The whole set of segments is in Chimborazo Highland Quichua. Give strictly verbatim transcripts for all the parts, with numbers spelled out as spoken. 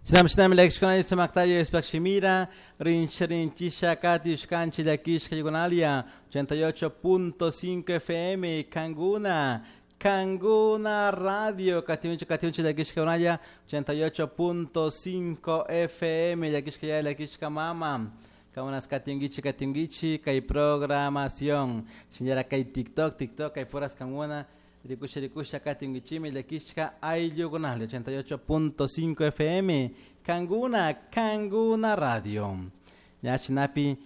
Shinami shinami llakishkuna sumaktalla Diospaj shimira rinchi rinchisha katishkanchi llakishka ochenta y ocho punto cinco F M Kanguna Kanguna Radio katiunchi katiunchi llakishka ochenta y ocho punto cinco F M llakishka ya llakishka mama kamunas katingichi katingichi kay programación señora kay TikTok TikTok kay puras kanguna rikusha rikusha katingichimi llakishka ayllukunalla ochenta y ocho punto cinco F M Kanguna Kanguna Radio ñachinapi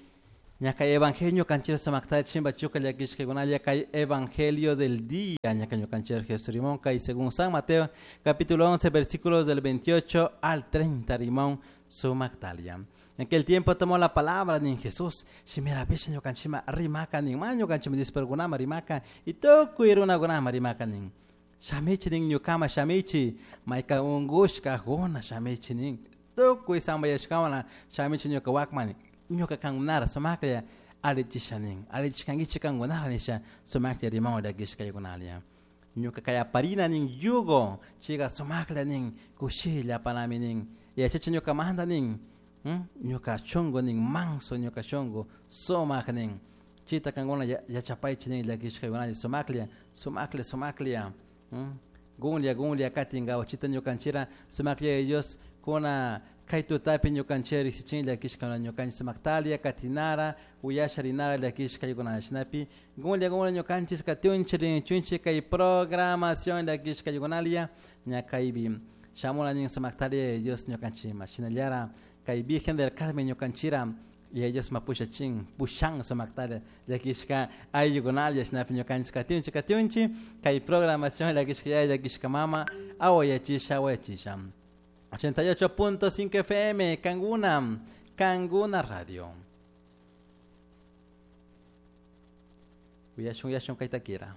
ñaka evangelio canchera samakta chimba chuka llakishka kunalla kay evangelio del día ñaka ñukanchera Jesús Rimón kay según San Mateo capítulo once versículos del veintiocho al treinta Rimón sumaktalia. En aquel tiempo tomó la palabra ni Jesús, shimira pesha ñukanchima rimaka nin, ma ñukanchima dispergunama rimaka, y tukuy runakunama rimaka nin. Shamichi nin ñukama shamichi, mayka ungushka guna shamichi nin. Tukuy sambayashkawana shamichi ñuka wakma nin. Ñuka kangunara sumaklla alichisha nin, alichishkankichi kangunara nisha sumaklla rimawan llakishkaykunalia. Ñuka kayaparina nin yugo, chiga sumaklla nin, kushilla panami nin. Yachachi ñuka manda nin. Ñuka shungu nin manso ñuka shungu sumak nin chita kanguna yachapaychi nin llakishkaykunalla sumaklla sumaklla sumaklla gunlla gunlla katinkawa chita ñukanchira sumaklla Dios kuna kay tutapi ñukanchira riksichin llakishkaykunalla ñukanchik sumaktalia katinara uyasha rinara llakishkaykunalla shinapi gunlla gunlla ñukanchik katiunchik rinchunchik kay programación llakishkaykunalla ña kaypi shamuna nin sumaktalia Dios ñukanchikma shinallara kay Virgen del Carmen ñukanchira y ellos mapushachin pushan sumaktalla llakishka ayllukunalla shinapi ñukanchik katiunchik katiunchik kay programación llakishka yaya llakishka mama awayachisha awayachisha ochenta y ocho punto cinco F M Kanguna Kanguna Radio Uyashun uyashun kaytakira.